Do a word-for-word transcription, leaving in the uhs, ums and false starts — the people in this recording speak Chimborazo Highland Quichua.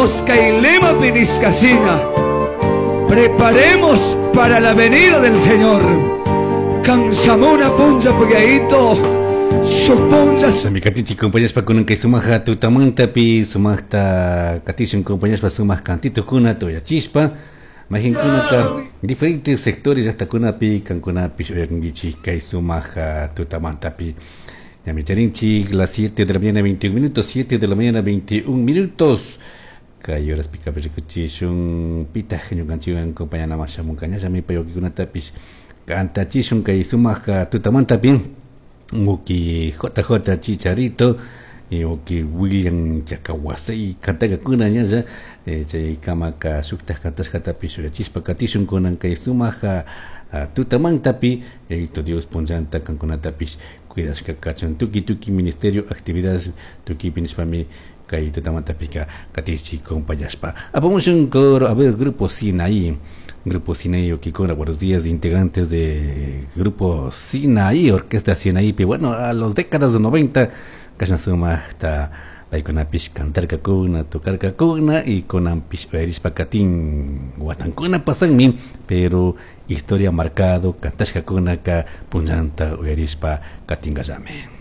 Dios kay lema nishkashina. Preparemos para la venida del Señor. Kan shamuna punlla Yayito. Supunlla. Katichi compañeros kunan kay sumaja tutamantapi sumajta katishun compañeros sumaj kantitukuna tuyachispa Mahinkunata diferentes sectores llaqtakunapi kankunapish uyakunkichik kay sumaja tutamantapi. Ñami charinchik las siete de la mañana veintiún minutos, siete de la mañana veintiún minutos. Kay horas pikapi rikuchishun pitaq ñukanchikwan compañanaman shamunka ñallami pay wakikunatapish kantachishun kay sumaja tutamantapi uki J J Chicharito y uki William Chacahuasey kantakakuna ñalla chay kamaka shuktaj kantashkatapish uyachispa katishun kunan kay sumaja tutamantapi. Yayito Dios punllanta kankunatapish cuidashka kachun tuki tuki ministerio actividades tukipi nishpami kay tutamantapika katichi compañashpa apamushun coro. A ver, Grupo Sinaí, Grupo Sinaí Okikora, buenos días, integrantes de Grupo Sinaí, Orquesta Sinaí. Bueno, a los décadas de noventa kashna sumajta paykunapish cantarkakuna, tocarkakuna y kunanpish uyarishpa katin watankuna pasanmi, pero historia marcado kantashkakunaka punllanta uyarishpa katinkallami.